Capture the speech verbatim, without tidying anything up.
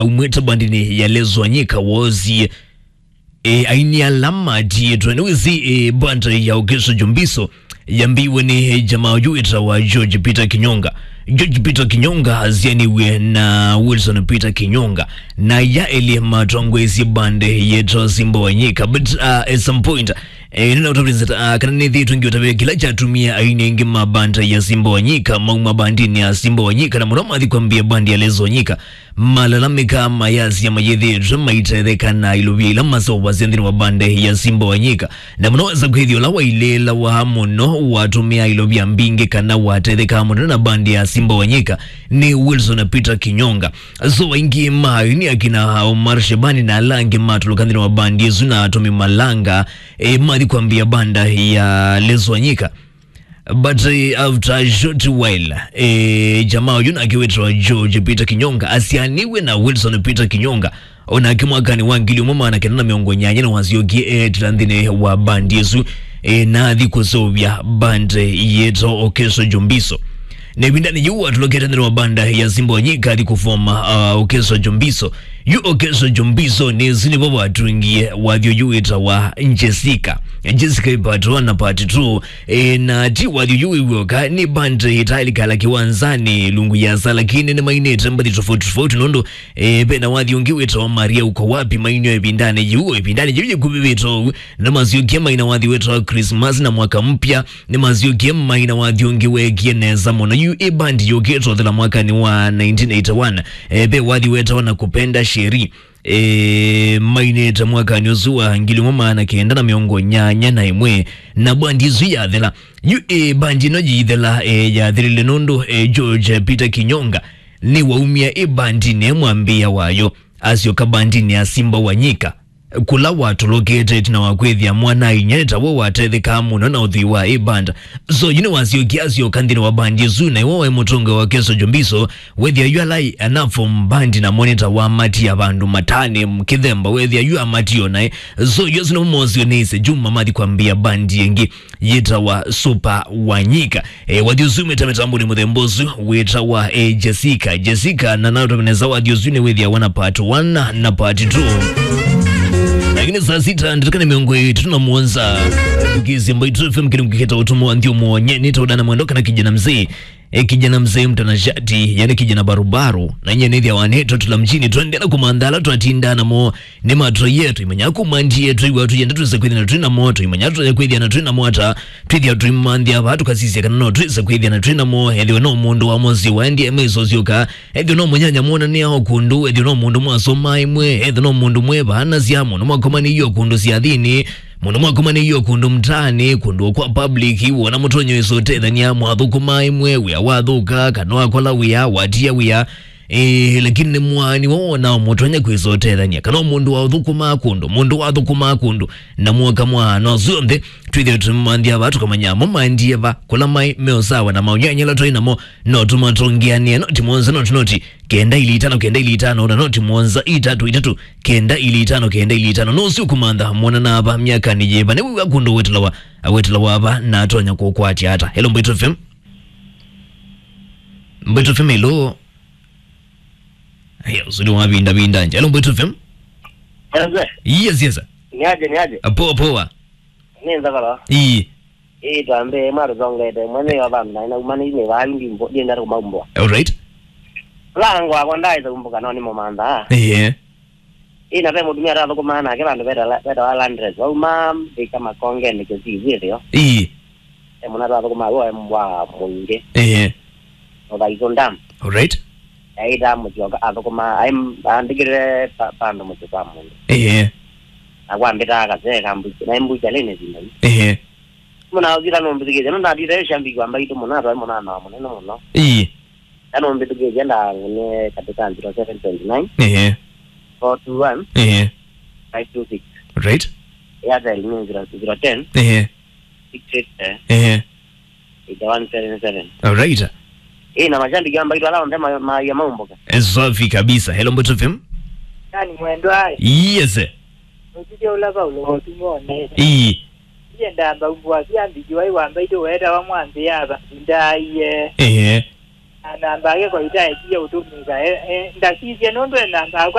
aumĩte bandinĩ ya Lezo Wanyika wosie, e, aini ala matiĩtwe. Nĩwĩsĩ, e, band ya Okeso Jombiso yambiwe nĩ, e, jamaa ũyũ wĩtawa George Peter Kinyonga. George Peter Kinyonga asianiwe na Wilson Peter Kinyonga, na ya elĩ matongoesye band yĩtawa Simba Wanyika. But, uh, at some point, e, nĩnaũtavĩte, uh, kana nĩthĩĩtwe ngĩũtavĩa kĩla kyatumie aini aingĩ ma band ya Simba Wanyika mauma bandinĩ ya Simba Wanyika, na mũno mathi kwambia band ya Lezo Wanyika. Malalamĩka mayasya mayĩthĩĩtwe maitetheka na ilovia ila maseũvasya nthĩnĩ wa band ya Simba Wanyika. Na mũno wesa kwĩthĩa ũla wailĩĩlawa mũno watũmĩa ilovia mbingĩ kana watethekaa mũno na band ya Simba Wanyika nĩ Wilson Peter Kinyonga. So aingĩ ma aini akina Omar Shabani na ala angĩ matũlũka nthĩnĩ wa band ĩsu na atũmi malanga, e, mathi kwambia band ya Lezo Wanyika. But, eh, after a short while, eh, jamaa ũyũ nake wĩtawa George Peter Kinyonga asianiwe na Wilson Peter Kinyonga, onake mwakanĩ wa ngili ũmwe maana kenda na mĩongo nyanya na wasyokie eetĩla nthĩnĩ wa band ĩsu, eh, na athi kũseũvya band yĩtawa Okeso Jombiso. Na ĩvindanĩ yĩu watũlũkĩte nthĩnĩ wa band ya Simba Wanyika athi kũfoma, uh, Okeso Jombiso. Yu Okeso Jombiso nĩsĩ nĩvo watw'ĩngie wathi ũyũ wĩtawa Jessica. Jessica part one na part two. E, na ti wathi ũyũ wĩ w'oka, nĩ band ĩtaĩlĩkala kĩwanzanĩ lungu ya asa, lakini nĩmainĩte mbathi tofauti tofauti nũndũ, e, ve na wathi ũngĩ wĩtawa Maria Uko Wapi mainio ĩvindanĩ yĩu. Ĩvindanĩ yĩu yĩkuvĩvĩte ũu, nĩmasyokie maina wathi wĩtawa Christmas na Mwaka Mpya. Nĩmasyokie maina wathi ũngĩ weekie nesa mũno. Yu ĩ band yũkĩte ũthela mwakanĩ wa nineteen eighty-one. E, ve wathi wetawa Nakupenda Sheri. E, mainĩte mwakanĩ ũsu wa ngili ũmwe maana kenda na mĩongo nyanya na ĩmwe, na bandi ĩsu yathela. Yu ĩ bandi ĩno yĩithela, e, yathelile nũndũ, e, George Peter Kinyonga nĩwaumie ĩ bandinĩ mwambĩĩa wayo, asyoka bandinĩ ya Simba Wanyika, kũla watũlũkĩte ĩtina wa kwĩthĩa mwana-a-inyia nĩ tawe watethekaa mũno na ũthwii wa ĩ band. So, yu nĩwasyokie asyoka nthĩnĩ wa bandi ĩsu, na ĩwe waĩ mũtongoi wa Okeso Jombiso, wethĩa yu ala anaform band namo nĩ ta wamatia vandũ matani kĩthemba, wethĩa yu amatia naĩ. So, yu asu nĩmo mosio nĩ ĩse Juma mathi kwambĩĩa bandi ĩngĩ yĩtawa Super Wanyika. E, wathi ũsu wĩta mĩtambonĩ mũthemba ũsu wĩtawa, e, Jessica. Jessica, na naũtavye nesa wathi ũsu nĩwĩthĩawa na part one na part two. Lakini saa sita ndatĩka nĩ mĩongo ĩtatũ na mũonza, tukĩsya Mbaitu F M kĩlungu kĩtawa Ũtũmwa wa Nthĩ Ũmwe, nĩtawa Dana Mwendo kana Kijana Mzee. E, Kijana Mzee mtanashati, yani kijana barubaru, na nyie nĩthĩawa nĩ twatula mjini, twaendeea na kũmantha ala twatindaa namo. Nĩ matũie, tũimanya kuma ndie, twĩw'a tũyenda twĩsa kwĩthĩana twĩ namo, tũimanya tũya kwĩthĩana twĩ namo ata, twĩthĩa tũimanthĩa vaa, tũkasisya kana no twĩsa kwĩthĩana twĩ namo, ethĩwa no mũndũ wa mũsyĩ waendie mĩso syoka, ethĩwa no mũnyanya mwonanĩa o kũndũ, ethĩwa no mũndũ mwasoma ĩmwe, ethĩwa no mũndũ mwevaanasya, mũndũ mwakomanĩie o kũndũ syathĩnĩ, mũndũ mwakomanĩie o kũndũ mtaanĩ, kũndũ o kwa public, wona mũtonyo ĩsa ũtethania, mwathũkũma ĩmwe, wĩa wathũka, kana wakola wĩa, watia wĩa, Ĩĩ, lakini nĩ mwani wo wonaa mũtonya kwĩsa ũtethany'a, kana o mũndũ wathũkũmaa kũndũ, mũndũ wathũkũmaa kũndũ, na mwoka mwaano syonthe, twĩthĩwe tũmanthĩa vaa, tũkamanya mo maendie va, kũla maĩ, me ũsawa na maũnyanya ala twaĩ namo, no tũmatongeanĩe, noti mũonza, noti, noti, kenda ili itano, kenda ili itano, na noti mũonza, itatu, itatu, kenda ili itano, kenda ili itano. Nũsĩ ũkũmantha, mwonanaa va, myakanĩ yĩva, nĩwĩw'a kũndũ wetelawa, awetelawa va, na atonya kũkwatya ata? Hello, Mbaitu F M. Mbaitu F M, hello. Aya, ũsu nĩ wavinda vinda nja. Hello, Mbaitu F M. Mwanze. Yes, yes. Niaje, niaje? Ah, poa, poa. Nĩ nzakala. Ii. Ii, twambe, mwarũzongete, mwene yo vandu na ina umani ni vali ndimbo, ndienda kumaumbwa. All right. Lango akwa ndaita kumbuka no ni momantha. Ehe. Ĩ, na ve mũtumĩa atathũkũmaa nake vandũ vetawa Landres. Wauma Mbĩka Makongenĩ Kĩsii, wĩthĩo. Ĩĩ. E mũna atathũkũmaa w'o e mbwa mũingĩ. Ĩĩ. Ũthaitũ Dam. Alright. Aĩtaa mũsyoka athũkũmaa, aĩ andĩkĩte pa- pandũ mũsyĩ kwa mũndũ. Ĩĩ. Na kwambĩtaa kasee ka mbucha, naĩ mbuchalĩnĩ ĩvinda yu. Ĩĩ. Mũna ũthita nũmbĩthĩkĩte, nũndatite shambiki wa Mbaitũ mũna, twaĩ mũnana wa mũnene mũno. Ĩĩ. Kana ũmbĩthukĩĩsya ndaang'anie katĩ ka zero seven twenty nine, ehe, four two one, ehe, five two six. Right. Airtel nĩ zero, zero ten, ehe, six fifty, ehe, eight one seven seven. All right. Ĩ, na mashabiki a Mbaitũ ala onthe ma- maia maumbũke. Eh, safi kabisa. Hello, Mbaitu F M. Nani mwendwa ai? Yes. Ũtithya ũla Paulo watumwa onete. Ii. Iye ndamba umbwa sya mbiki wai wa Mbaitũ wetawa mwanzĩ yava. Ndaie. Ehe. na namba yake kwa itaekie ũtũmĩka. E, e, ndasisye nũndũ e namba yakwa